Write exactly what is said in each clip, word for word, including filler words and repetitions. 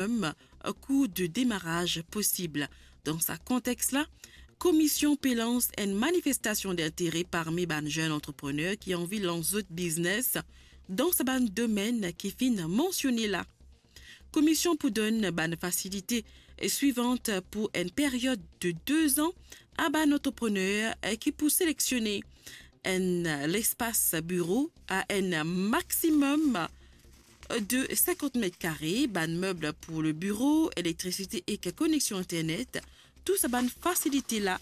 minimum kou de demaraz posib. Dan sa kontex la, Komisyon pe lans enn manifestasion dintere parmi bann zenn antreprener ki anvi lans zot biznes dan sa bann domenn ki finn mansione la. Komisyon pou donn bann fasilite swivan pou enn period de de zan a bann antreprener ki pou seleksionnen enn lespas biro a enn maximum de sinkant met kare, bann meb pou le biro, elektrisite ek koneksion internet. Tou sa bann fasilite la,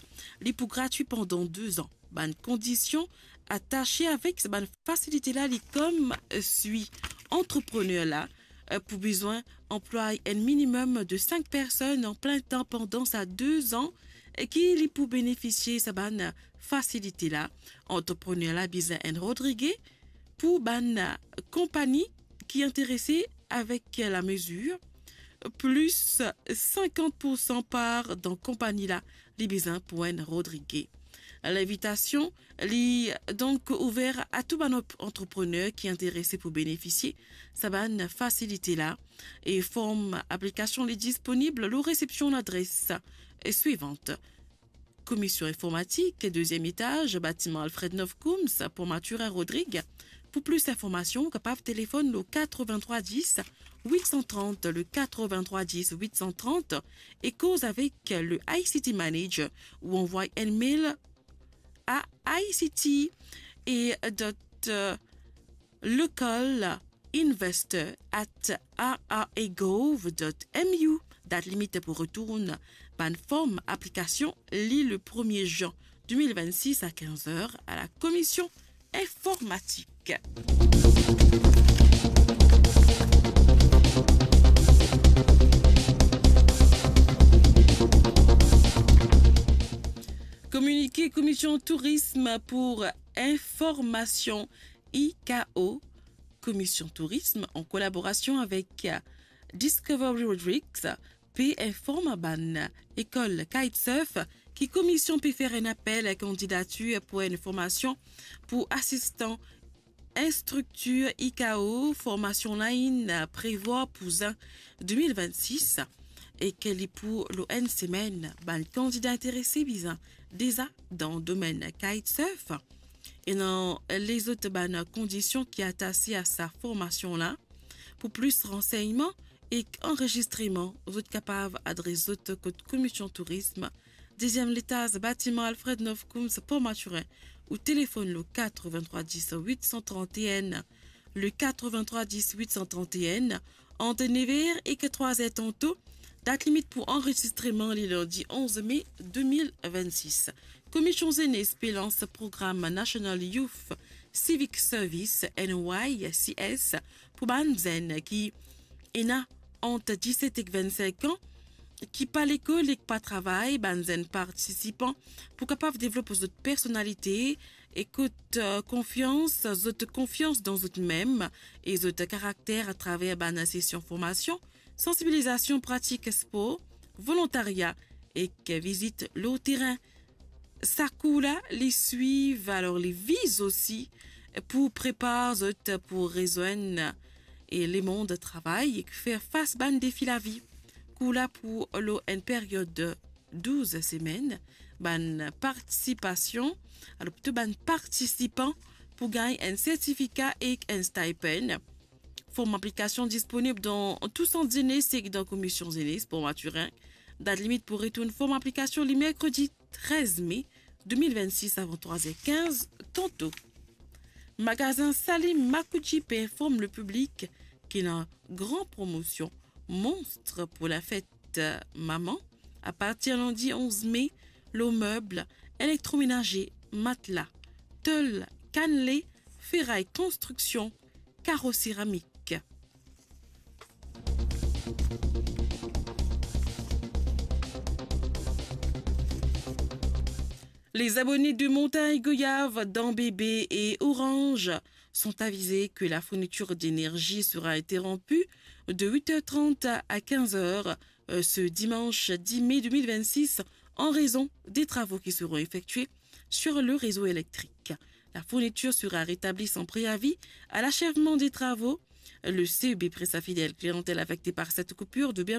li pou gratwi pandan de zan. Bann kondision atase avek sa bann fasilite la, li kom swi. Antreprener la, eh, pou bizin anplway enn minimum de sink personn an plin tan pandan sa de zan, eh, ki li pou benefisie sa bann fasilite la. Antreprener la bizin enn Rodrige pou bann konpani ki interese avek lamezir, plis sinkant pour san par dan konpani la, li bizin pou enn Rodrige. Linvitasion, li donk ouver a tou bann op-, antreprener ki interese pou benefisie sa bann fasilite la, e form aplikasion li disponib lor resepsion ladres swivan. Komisyon Informatik, deziem etaz, batiman Alfred Nov Coombs, Port Mathurin, Rodrig. Pou plis informasion, ou kapav telefonn le quatre-vingt-trois dix huit cent trente, le quatre-vingt-trois dix huit cent trente, e koz avek le I C T Manager ou anvway enn mail a I C T e dot, euh, local investor at R R A gov dot M U. Dat limit pou retourn bann form aplikasion, li le premie zan deux mille vingt-six à quinze heures à la Commission Informatique. Kominike Komision Tourism pou Informasion, I K O. Komision Tourism, an kolaborasion avek Discovery Rodrigues, pe inform bann lekol kitesurf ki komision pe fer enn apel kandidatir pou enn formasion pou asistan instrikter I K O. Formasion la inn prevwar pou zan deux mille vingt-six e ki li pou lor enn semenn. Bann kandida interese bizin deza dan domenn kitesurf. Ena lezot bann kondision ki atase a sa formasion la. Pou plis ransegnman ek anrezistreman, zot kapav adres zot kot Komision Tourism, deziem letaz, batiman Alfred Nov Coombs, Port Mathurin, ou telefonn le quatre-vingt-trois dix huit cent trente et un, le quatre-vingt-trois dix huit cent trente et un, ant nev er ek trwa er tanto. Dat limit pou anrezistreman, li landi onz me deux mille vingt-six. Komision Zenes pe lans program National Youth Civic Service, N Y C S, pou bann zenn ki ena ant diset ek vennsenk an, ki pa lekol ek pa travay. Bann zenn partisipan pou kapav devlop zot personalite e kot, eh, konfians, zot konfians dan zot mem e zot karakter atraver bann sesion formasion, sansibilizasion, pratik spor, volontaria ek vizit lor terin. Sa kour la, li swiv, alor li viz osi pou prepar zot pou rezwenn e lemond travay ek fer fas bann defi lavi. Kour la pou lor enn period douz semenn. Bann partisipasion, alor plito bann partisipan pou gagn enn sertifika ek enn stipend. Form aplikasion disponib dan tou sant zenes ek dan Komision Zenes Port Mathurin. Dat limit pou retourn form aplikasion li merkredi trez me deux mille vingt-six avan trwa er kinz tanto. Magazin Salim Makoudji pe inform le piblik ki ena gran promosion monstr pou lafet, eh, mama. Apartir landi onz me, lor meb elektromenaze, matla, tol, kannle, feray konstriksion, karo seramik. Les abonnés de Montagne Goyave, Dan Bébé et Orange sont avisés que la fourniture d'énergie sera interrompue de huit heures trente à quinze heures, euh, ce dimanche dix mai deux mille vingt-six en raison des travaux qui seront effectués sur le réseau électrique. La fourniture sera rétablie sans préavis à l'achèvement des travaux Le C E B presse sa fidèle clientèle avec des parcelles de coupure de bien